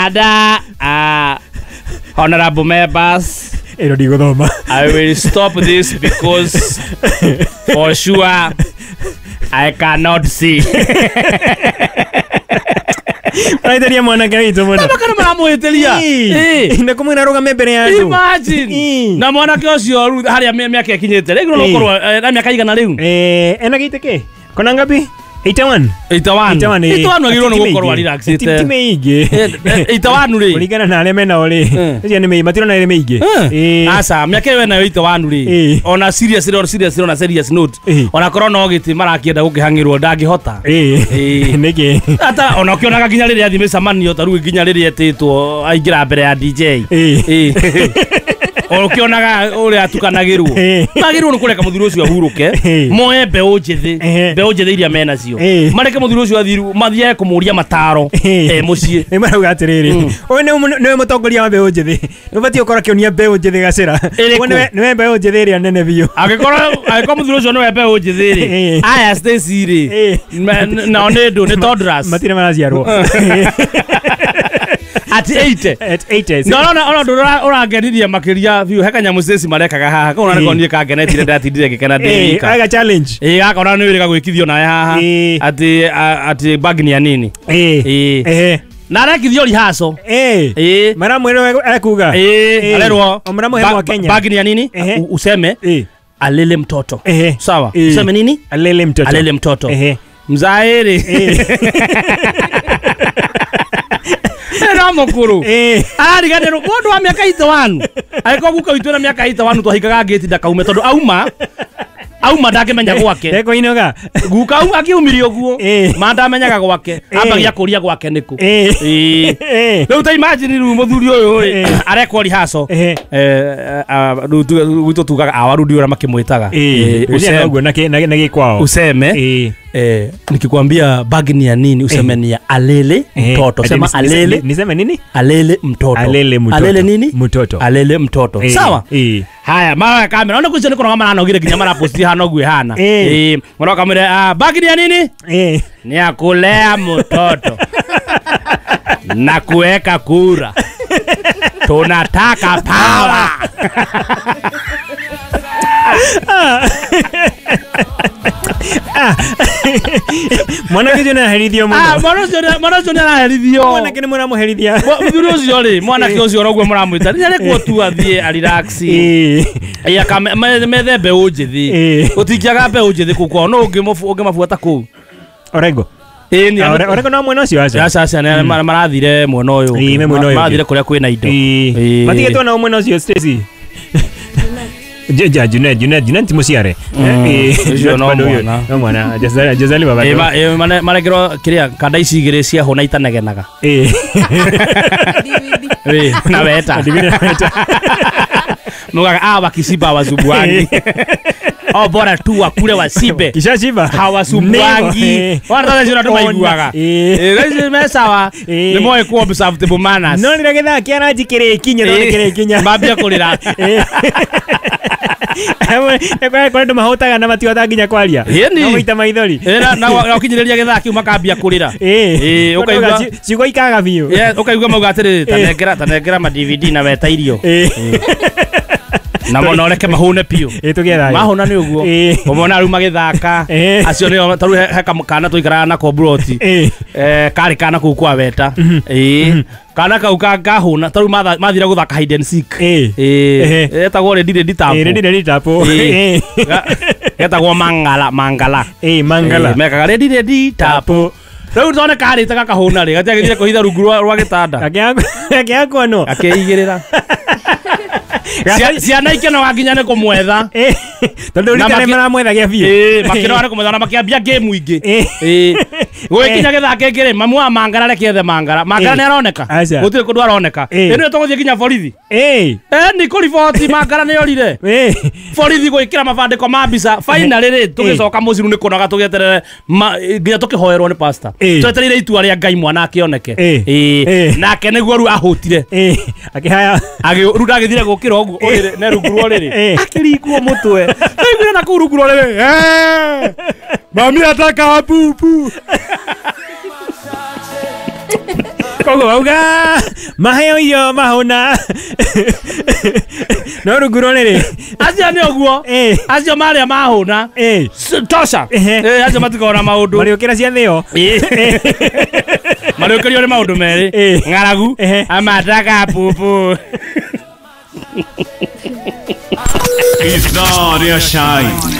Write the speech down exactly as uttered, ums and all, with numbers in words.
Dada, uh, honorable members, ĩno ndigũthoma. I will stop this because for sure I cannot see. Maraiteria mwanake witũ mũno. Kana maramũhĩtĩria. Ĩĩ. Na kũmwĩra arũgame mbere ya andũ. Imagine. Na mwanake ũcio rĩu harĩa mĩaka ĩkinyĩte rĩu no gũkorwo na mĩaka igana rĩu. Eh, ena gĩtĩ kĩ? Kona ngapi? eighty-one. eighty-one. eighty-one agĩrĩirwo nĩ gũkorwo relaxĩte. Ti mĩingĩ. eighty-one rĩ. Kũringana na arĩa menao rĩ. Ũcio nĩ mĩingĩ, matirona ĩrĩ mĩingĩ. Aca, mĩaka ĩyo enayo eighty-one rĩ. Ona serious rĩ, serious ona serious note. Ona korwo no gĩtĩ marakĩenda gũkĩhang'ĩrwo ndangĩhota. Ĩĩ. Nĩkĩ? Ata ona ũkĩonaga nginya rĩrĩa athiĩ mĩcemanio ta rĩu nginya rĩrĩa etĩtwo aingĩra mbere ya D J. Ĩĩ. Ũkĩonaga ũrĩa atukanagĩrwo. Magĩrĩirwo nĩ kũreka mũthuri ũcio ahurũke. Moe mbeũ njĩthĩ, mbeũ njĩthĩ iria menacio. Mareke mũthuri ũcio athiĩ mathiage kũmũria mataro e mũciĩ. Nĩ marauga atĩrĩrĩ, ũyũ nĩwe mũtongoria wa mbeũ njĩthĩ. Nĩ ũbatiĩ gũkorwo akĩonia mbeũ njĩthĩ gacĩra. Nĩwe mbeũ njĩthĩ ĩrĩa nene biũ. Angĩkorwo angĩkorwo mũthuri ũcio nĩwe mbeũ njĩthĩ rĩ, aya Stacy rĩ, nao nĩ ndũ, nĩ toddlers. Matirĩ maraciarwo. At eighty. At eighty. No, no, no, no, ũrangenirie makĩria biũ. He kanyamũ Stacy marekaga haha. Kau nako niĩ kangenetire ndatindire ngĩkena ndĩ wika. Aga challenge. Ĩĩ, gakona nĩ wĩrĩga gwĩkithio nawe haha. Atĩ atĩ bag ni ya nini. Ĩĩ. Na arekithio rehearsal. Ĩĩ. Maramwĩra ekuga. Ĩĩ, arerwo. Maramũhe mwa Kenya. Bag ni ya nini? Useme alele mtoto. Sawa. Useme nini? Alele mtoto. Alele mtoto. Mzaere. No mukuru. Arariganĩrwo mũndũ wa mĩaka eighty-one. Angĩkorwo guka witũ na mĩaka eighty-one twahikaga ngĩti ndakaume tondũ auma auma ndangĩmenya gwake. Ndekũinũka. Guka au akiumire ũguo ma ndamenyaga gwake. Ambagia kũria gwake nĩkũ. Ĩĩ. Rĩu ta imagine rĩu mũthuri ũyũ rĩ arekwo rehearsal. Eh rĩu gwitũ tugaga awaru ndio ũrĩa makĩmwĩtaga. Ũguo na gĩkwao. Useme. Eh, nikikwambia bag ni ya nini useme ni ya alele mtoto. Sema alele. Niseme nini? Alele mtoto. Alele mtoto. Alele nini? Mtoto. Alele mtoto. E. Sawa? E. Haya, mara kamera. Ona kucio nĩ kũnoga maranogire nginya maraposti hana ũguo ĩhana. Eh. Mwana kamera, ah, bag ni ya nini? Eh. Ni ya kulea mtoto. Na kuweka kura. Tunataka power. Mwanake ũcio nĩaraherithio mũno. Ah, mwana ũcio mwana ũcio nĩaraherithio. Mwanake nĩ mũramũherithia. Mũthuri ũcio rĩ, mwanake ũcio ũroguo mũramwĩta. Nĩarekwo tu athiĩ a relax. Ĩĩ. Ĩĩ, methe mbeũ njĩthĩ. Gũtingĩaga mbeũ njĩthĩ kũu kwao. No ũngĩmabuata kũu. Orengo. Ĩĩ, nĩ Orengo no mwena ũcio aca. Aca aca, marathire mwena ũyũ. Ĩĩ, me mwena ũyũ. Marathire kũrĩa kwĩna indo. Ĩĩ. Matigĩtwo nao mwena ũcio Stacy. Jeja Junet Junet Junet musiare. Eh, no mwana. No mwana. Jazali Jazali baba. Eh, ma marekerwo kiria kanda ici igiri cia hona itanegenaga. Eh. Eh, na weta. Mugaga ah wakishiba wazubwangi. Oh bora tu wakule wasibe. Kisha shiba. Hawasubwangi. Wana tata cio tumaiguaga. Eh, guys me sawa. Ni moe ku observe table manners. No ni githaa kiaranji kirikinya no kirikinya. Mambia kurira. Eh. Nĩ kũrĩ andũ mahũtaga na matihotaga nginya kwaria. No gũita maithori. Na na ũkinyĩrĩria gĩthaa kĩu makambia kũrĩra. Ĩĩ, ũkaigua ciugo ikaga biũ. Ũkaigua mauga atĩrĩrĩ, tanengera tanengera ma D V D na weta irio. Na mona ũreke mahũne biũ. Ĩĩ, tũgĩe thayũ. Mahũna nĩ ũguo. Ũmona rĩu magĩthaka. Acio nĩo ta rĩu he kana tũikaraga nako mburoti. Eh, karĩ kana kũu kwa weta. Ĩĩ. Kana kau kahũna ta rĩu mathire gũthaka hide and seek. Ĩĩ. Etagwo ready ready tap. Ĩĩ, ready ready tap. Getagwo mangala mangala. Ĩĩ, mangala. Mekaga ready ready tap. Rĩu tone karĩte gakahũna rĩ, gatiagĩthire kũhitha rungu rwa gĩtanda. Akĩakwa no. Akĩigĩrĩra. Ciana ikenoga nginya nĩ kũmwetha. Tondũ rita nĩ maramwethagia biũ. Ĩĩ, makĩnoga nĩ kũmwetha na makĩambia game ingĩ. Ĩĩ. Gũgĩkinya gĩthaa kĩngĩ rĩ, mamu wa mangara reke ethe mangara. Mangara nĩ aroneka? Gũtirĩ kũndũ aroneka. Ĩno tũgũthiĩ nginya borithi. Ĩĩ. Ĩĩ, nĩ kũriboti mangara nĩ orire. Ĩĩ. Borithi gwĩkĩra mabandĩko ma mbica. Finally rĩ, tũgĩcoka mũciĩ rĩu nĩ kũnoga tũgĩeterere nginya tũkĩhoerwo nĩ pastor. Twetereire itua rĩa Ngai mwana akĩoneke. Ĩĩ. Nake nĩguo rĩu ahũtire. Ĩĩ. Akĩhaya. Rĩu ndagĩthire gũkĩra ũguo ũrĩrĩ ne rungu rwa ũrĩrĩ. Akĩringwo mũtwe. Ndaiguire na kũu rungu rwa ũrĩrĩ. Mami ataka pupu. Koguo mauga maheo irio mahũna. No rungu rũrĩrĩ. Acio nĩ ũguo. Ĩĩ. Acio marĩa mahũna. Ĩĩ. S- Tosha. Ehe. Eh, acio matikoragwo na maũndũ. Marĩũkĩra ciathĩo. Marĩũkĩrio nĩ maũndũ merĩ. Ĩĩ. Ng'aragu. Ehe. Amataka pupu. Ithaa rĩa Shine.